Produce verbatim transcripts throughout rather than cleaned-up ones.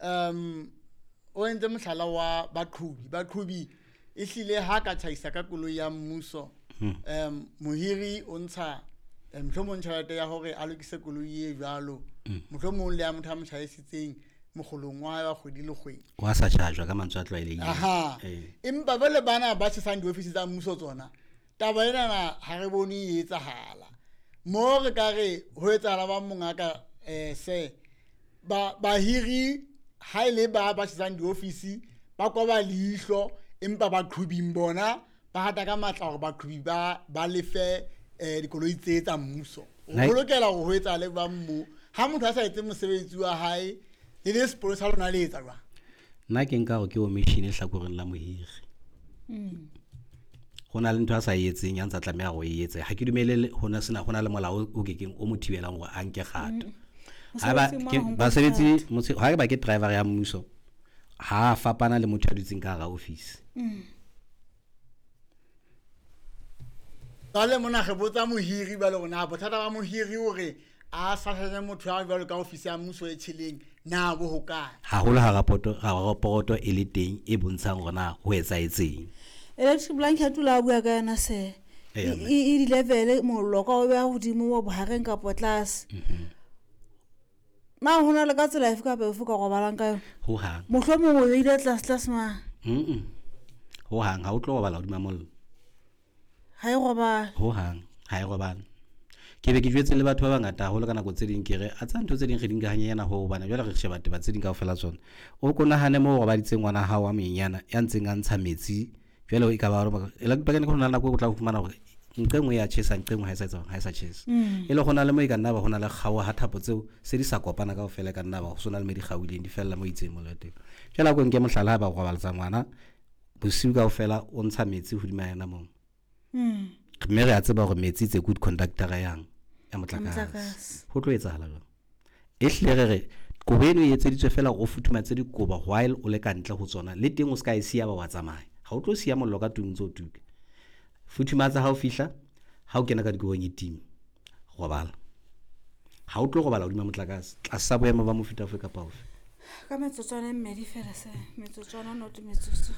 Um o entse mohlala wa baqhubi. Baqhubi e hlile ha ka tjhaisa ka koloi ya mmuso. Um mohiri o ntsha mohlomong tjhelete ya hore a lokise koloi e jwalo. Mohlomong le ya motho a mo tjhaisitseng mokgolong wa hae wa kgwedi le kgwedi. Wa sa charge ka mantswe a tlwaelehileng. Aha. Empa jwale bana ba tjhesang diofisi tsa mmuso tsona, taba ena ha re bone e etsahala. Mo re ka re ho etsahala ba mongaka eh se ba bahiri ha ile ba ba tjhesang diofisi ba koba leihlo empa ba qhubing bona ba hata ka matla hore baqhubi ba ba lefe eh dikoloi tse tsa mmuso. O lokela hore ho etsahale ba mmu ha motho a sa etse mosebetsi wa hae le le sepolo sa lona le etsa jwang? Nna ke nka hore ke omission e hlakoreng la mohiri. Mm. Ho na le ntho a sa e etseng ya ntsa tlameha ho e etsa. Ha ke dumele hona sena hona le molao o kekeng o mo thibelang hore a nke kgato. Ha ba basebetsi ha ba ke driver ya mmuso ha fapana le motho a dutseng ka hara office. Mm. Jwale mona re botsa mohiri ba le rona bothata ba mohiri hore a sa hlanye motho ya jwalo ka office ya mmuso e tjheleng na bo hokae. Haholo ha rapoto ha rapoto e le teng e bontshang hore na ho etsahetseng. Electric blanket la bua ka yona se e di level mollo ka o beha hodimo wa bohareng kapa tlase. Na hona le ka tsela efe kapa efe ka robalang ka yona? Ho hang. Mohlomong o ile tlase tlase ma. Mhm. Ho hang ha o tlo robala hodima mollo. Ha e robala. Ho hang ha e robala. Ke be ke jwetse le batho ba bangata haholo ka nako tse ding ke re a tsa ntho tse ding re di nka hanyenyana ho hobane jwale re sheba taba tse ding kaofela tsona. O ko nahane moo o robaditseng ngwana hao wa monyenyana ya ntseng a ntsha metsi jwale e ka ba hore e la pakeng ho na le nako o tla fumana hore nqe nngwe ya tjhesa nqe nngwe ha e sa etsa ha e sa tjhesa. E le hona le mo e ka nna ba hona le kgaoha ha thapo tseo se di sa kopana kaofela ka nna ba ho sona le mo di kgaohileng di fella mo itseng mollo teng. Jwale a ko nke mohlala ha ba robaletsa ngwana bosiu kaofela o ntsha metsi hodima yena moo. Mm. Mme re a tseba hore metsi tse good conductor yang ya motlakase. Ho tlo etsahala jwang? E hlile re re kobo eno e etseditswe fela hore o futhumatse dikobo while o le ka ntle ho tsona le teng o ska e siya ba wa tsamaya. Ha o tlo siya mollo ka tlung ntse o tuka. Futhumatsa ha o fihla, ha o kena ka dikobong e time, robala. Ha o tlo robala hodima motlakase tlasa boemo ba mofuta ofe kapa ofe. Ka metsotswana e mmedi fela se metsotswana not metsotso.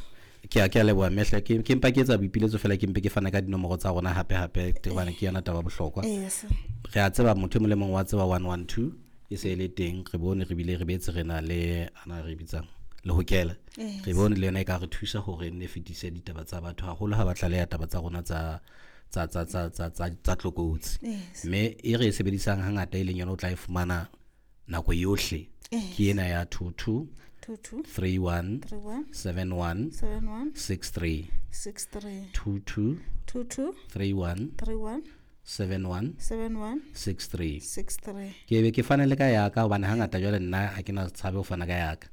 Ke a ke a leboha mehla ke ke mpa ke etsa boipiletso fela ke mpe ke fana ka dinomoro tsa rona hape hape hobane ke yona taba bohlokwa. Re a tseba motho e mong le mong wa tseba one one two e se le teng re bone re bile re betse re na le ana re bitsang le hokela. Re bone le yona e ka re thusa hore nne fetise ditaba tsa batho haholo ha ba tlaleha taba tsa rona tsa tsa tsa tsa tsa tsa tsa tlokotsi. Mme e re e sebedisang hangata e leng yona o tla e fumana nako yohle. Ke ena ya two two two two three one seven one six three two two three one seven one six three. Ke be ke fane le ka ya ka hobane hangata jwale nna ha ke na tshabe ho fana ka ya ka.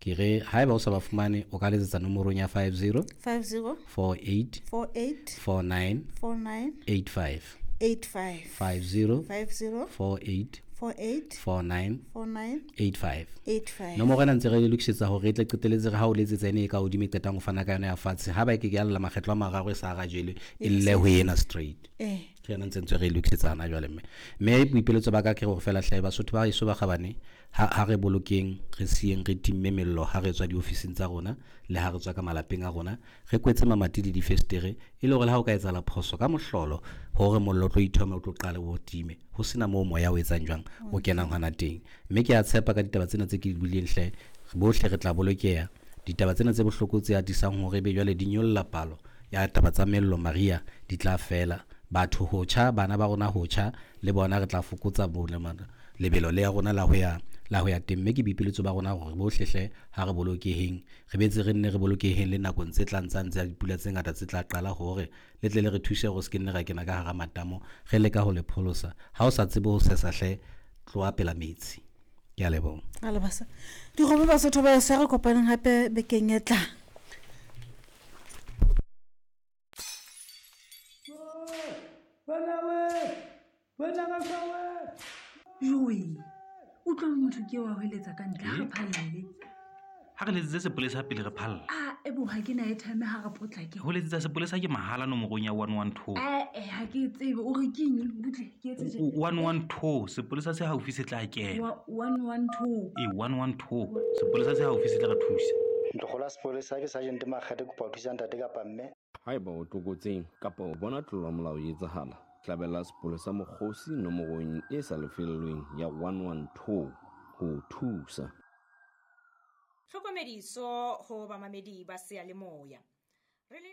Ke re haeba o sa ba fumane o ka letsetsa nomorong ya five zero five zero four eight four eight four nine four nine eight five eight five five zero five zero four eight four eight four nine four nine eight five eight five. Nomoro ena ntse re le lokisetsa hore e tle qeteletse re ha o letsetsa ene e ka hodimo e qetang ho fana ka yona ya fatshe ha ba e ke ke ya lla makgetlo a mararo e sa arajele e lle ho ena straight. Eh. Ke yona ntse ntse re lokisetsa hana jwale mme mme boipiletso ba ka ke hore fela hle Basotho ba eso ba kgabane ha ha re bolokeng re sieng re timme mello ha re tswa diofising tsa rona le ha re tswa ka malapeng a rona re kwetse mamati le difestere e le hore le ha o ka etsahala phoso ka mohlolo hore mollo o tlo ithoma o tlo qale o time ho sena moo moya o etsang jwang o kenang hona teng. Mme ke a tshepa ka ditaba tsena tse ke di buileng hle bohle re tla bolokeha. Ditaba tsena tse bohloko tse atisang hore ebe jwale di nyolla palo ya taba tsa mello Maria di tla fela. Batho ho tjha bana ba rona ho tjha le bona re tla fokotsa lebelo le ya rona la ho ya la ho ya teng. Mme ke boipiletso ba rona hore bohle hle ha re bolokeheng re betse re nne re bolokeheng le nakong tse tlang tsa ntse dipula tse ngata tse tla qala hore le tle le re thuse hore se ke nne ra kena ka hara matamo re leka ho le pholosa. Ha o sa tsebe ho sesa hle tloha pela metsi. Ke a leboha. A leboha. Dikgomo Basotho ba eso re kopaneng hape bekeng e tlang. Joe, utlwa motho ke wa hweletsa ka ntle ha re phalle. Ha re letsitse sepolesa pele re phalla. A e bo ha ke na airtime ha re potlake. Ho letsetsa sepolesa ke mahala nomorong ya one one two. Eh ha ke tsebe o re keng butle ke etse tje. one one two sepolesa se haufi se tla kena. one one two. E one one two sepolesa se haufi se tla re thusa. Ntlokgolo ya sepolesa ke Sergeant Makgethe, kopa ho thusa ntate kapa mme. Haeba o tlokotsing kapa o bona tlolo ya molao e etsahala, hlabela sepolesa mokgosi nomorong e sa lefellweng ya one one two ho thusa. Tlhokomediso ho bamamedi ba seyalemoya. Re le